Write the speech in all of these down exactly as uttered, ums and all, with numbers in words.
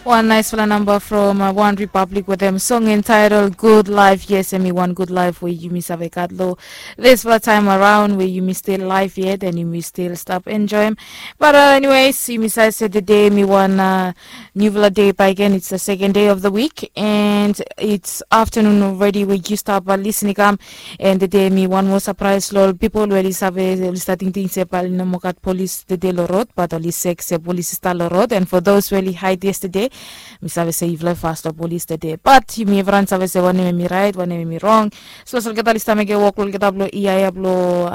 Wan naisfala namba from One Republic wetem song entitled Good Life. Yes, hemi wan good life we yumi save gat lo disfala taem araon we yumi stil laef yet and yumi stil stap enjoem. But anyways, yumi save se tede hemi wan niufala dei bakegen. It's the second day of the week and it's afternoon already we yu stap lisin i kam. And tede hemi wan moa sapraes lo ol pipol we oli save, oli stap tingting se bae oli no moa gat polis tede lo rod, bat oli sek se polis i stap lo rod. And for those we oli haed yestede, mi save se yufala i fas lo polis tede, bat yumi evriwan save se wanem hemi raet, wanem hemi rong. Sapos olgeta oli stap mekem wok blo olgeta blo ia ia blo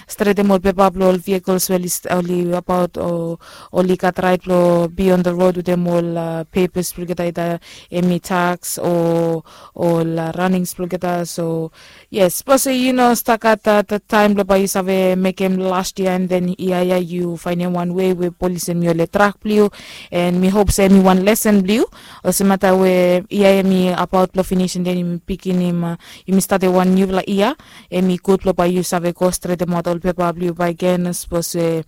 stretem ol pepa blo ol vehikels we oli abaot o oli gat raet blo be on the road wetem ol pepas blo olgeta, ida hemi taks o ol ranings blo olgeta. So yes, sapos yu no stap gat taem blo bae yu save mekem las yia and then ia ia yu faenem wan wei we polis hemi oli trak blo yu. And mi hop se hemi wan lesen blo yu, olsem mata we ia ia hemi abaot blo finis and then yumi biginim, yumi statem wan niufala yia, hemi gud blo bae yu save go stretemaot ol pepa blo yu bakegen sapos we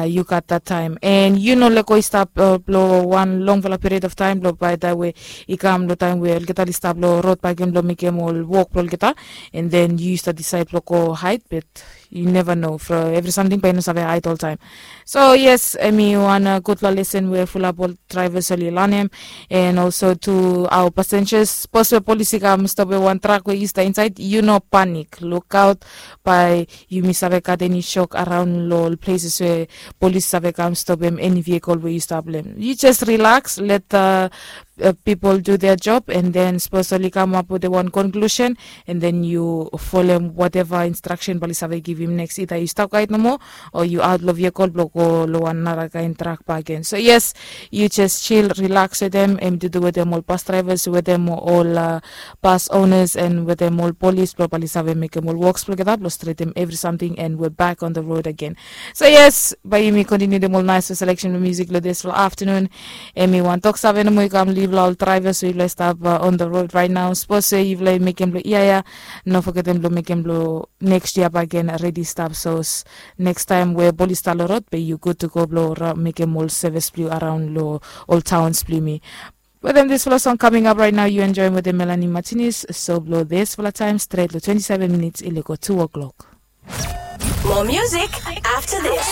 yu gat dat taem and yu no lego i stap blo wan longfala period of taem blo bae taem we i kam lo taem we olgeta oli stap lo rod bakegen blo mekem ol wok blo olgeta, and then yu stap disaed blo go haed, bat yu neva no, evri samting bae i no save haed oltaem. So yes, hemi wan gudfala lesen we fulap ol draevas oli lanem. And also tu aoa pasenjas, sapos we polis i kam stopem wan trak we yu stap insaed, yu no panik, lukaot bae yumi save gat eni sok araon lo ol pleses we polis save kam stopem eni vehikel we yu stap lo hem. Yu jes rilaks, let pipol du dea job, and then sapos oli kamap wetem wan konklusen, and then yu folem wateva instraksen bae oli save givim neks, ida yu stap haed nomo o yu aot lo vehikel blo go lo wan narakaen trak bakegen. So yes, yu jes jil, rilaks wetem hem, dudu wetem ol bas draevas, wetem ol bas onas and wetem ol polis blo bae oli save mekem ol woks blo olgeta blo stretem evri samting and we bak on the road agen. So yes, bae yumi kontiniu wetem ol naesfala seleksen blo musik lo disfala aftenun. Hemi wan toksave nomo i kam lo yufala ol draevas we yufala i stap on the road raet nao. Sapos we yufala i mekem blo ia ia, no fogetem blo mekem blo neks yia bakegen redi stap, sapos neks taem we polis i stap lo rod bae yu gud tu go blo mekem ol sevis blo yu araon lo ol taons blo yumi. Wetem disfala song kaming ap raet nao, yu enjoem wetem Melanie Martinez, So blo disfala taem stret lo twenti seven minits i lego tu o'clock. More music after this.